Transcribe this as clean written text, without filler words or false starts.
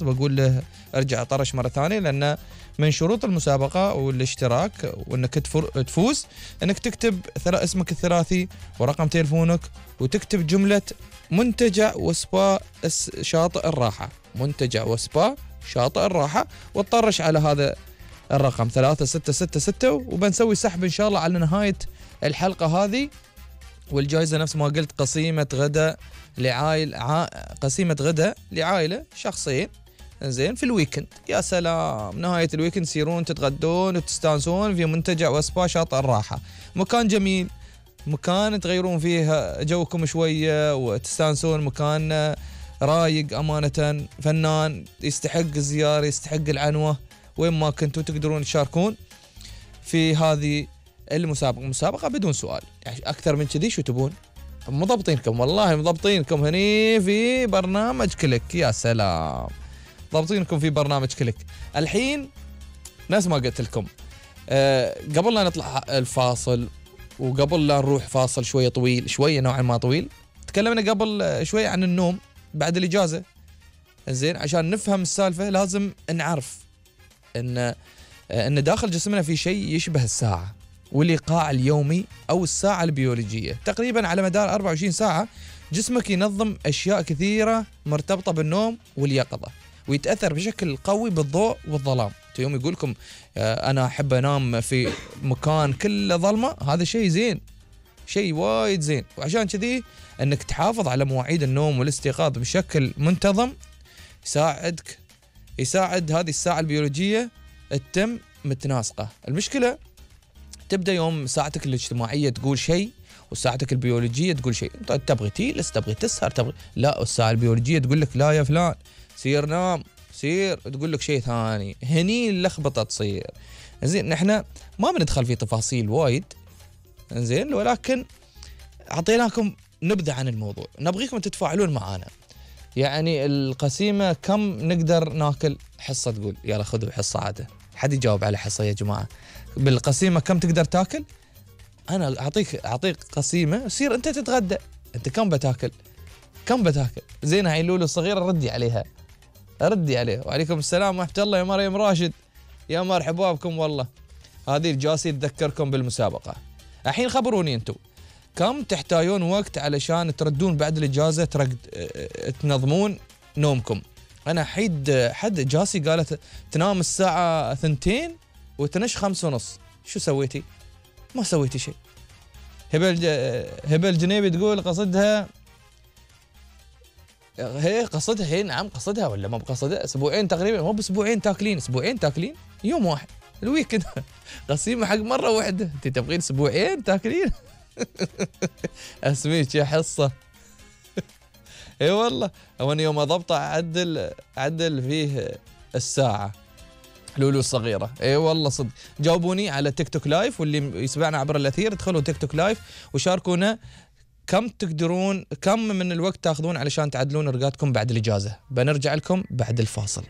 بقول له ارجع طرش مرة ثانية، لأن من شروط المسابقة والاشتراك وانك تفوز انك تكتب اسمك الثلاثي ورقم تليفونك، وتكتب جملة منتجع وسبا شاطئ الراحة، منتجع وسبا شاطئ الراحة، وتطرش على هذا الرقم 3666، وبنسوي سحب ان شاء الله على نهاية الحلقة هذه. والجائزة نفس ما قلت قسيمة غداء قسيمة غداء لعائلة شخصين زين في الويكند. يا سلام، نهاية الويكند تسيرون تتغدون وتستانسون في منتجع وسبا شاطئ الراحة، مكان جميل، مكان تغيرون فيه جوكم شوية وتستانسون، مكان رايق أمانة، فنان يستحق الزيارة، يستحق العنوة. وين ما كنتوا تقدرون تشاركون في هذه المسابقة بدون سؤال. يعني أكثر من كذي شو تبون؟ مضبطينكم والله، مضبطينكم هني في برنامج كليك. يا سلام، ضابطينكم في برنامج كليك. الحين ناس ما قلت لكم قبل لا نطلع الفاصل، وقبل لا نروح فاصل شوية طويل، شوية نوعا ما طويل، تكلمنا قبل شوية عن النوم بعد الإجازة. زين، عشان نفهم السالفة لازم نعرف ان داخل جسمنا في شيء يشبه الساعة والإيقاع اليومي أو الساعة البيولوجية. تقريبا على مدار 24 ساعة جسمك ينظم أشياء كثيرة مرتبطة بالنوم واليقظة، ويتأثر بشكل قوي بالضوء والظلام. يوم يقول لكم أنا أحب أنام في مكان كله ظلمة، هذا شيء زين، شيء وايد زين. وعشان كذي أنك تحافظ على مواعيد النوم والاستيقاظ بشكل منتظم يساعد هذه الساعة البيولوجية تتم متناسقة. المشكلة تبدأ يوم ساعتك الاجتماعية تقول شيء وساعتك البيولوجية تقول شيء. انت تبغي تجلس، تبغي تسهر، لا، الساعة البيولوجية تقول لك لا يا فلان سير نام، سير تقول لك شيء ثاني. هني اللخبطة تصير. زين، نحن ما بندخل في تفاصيل وايد، زين، ولكن أعطيناكم نبذة عن الموضوع، نبغيكم تتفاعلون معانا. يعني القسيمة كم نقدر ناكل؟ حصة تقول يلا خذوا حصة عادة، حد يجاوب على حصة يا جماعة. بالقسيمة كم تقدر تاكل؟ أنا أعطيك قسيمة، سير أنت تتغدى، أنت كم بتاكل؟ زين، هاي لولو الصغيرة ردي عليها. وعليكم السلام ورحمة الله يا مريم راشد، يا مرحبا بكم والله. هذه الجاسي تذكركم بالمسابقة. الحين خبروني أنتم كم تحتاجون وقت علشان تردون بعد الإجازة تنظمون نومكم. أنا حد جاسي قالت تنام الساعة 2 وتنش 5:30. شو سويتي؟ ما سويتي شيء. هبل الجنيبي تقول قصدها نعم قصدها ولا ما بقصدها. أسبوعين تقريبا، مو بأسبوعين تاكلين، أسبوعين تاكلين يوم واحد الويكند. قسيمة حق مرة واحدة، أنت تبغين أسبوعين تاكلين؟ أسميك يا حصة. اي والله، وانا يوم اضبطه عدل فيه الساعة لولو الصغيرة. اي والله صدق. جاوبوني على تيك توك لايف، واللي يسمعنا عبر الأثير ادخلوا تيك توك لايف وشاركونا كم من الوقت تاخذون علشان تعدلون رقاتكم بعد الإجازة. بنرجع لكم بعد الفاصل.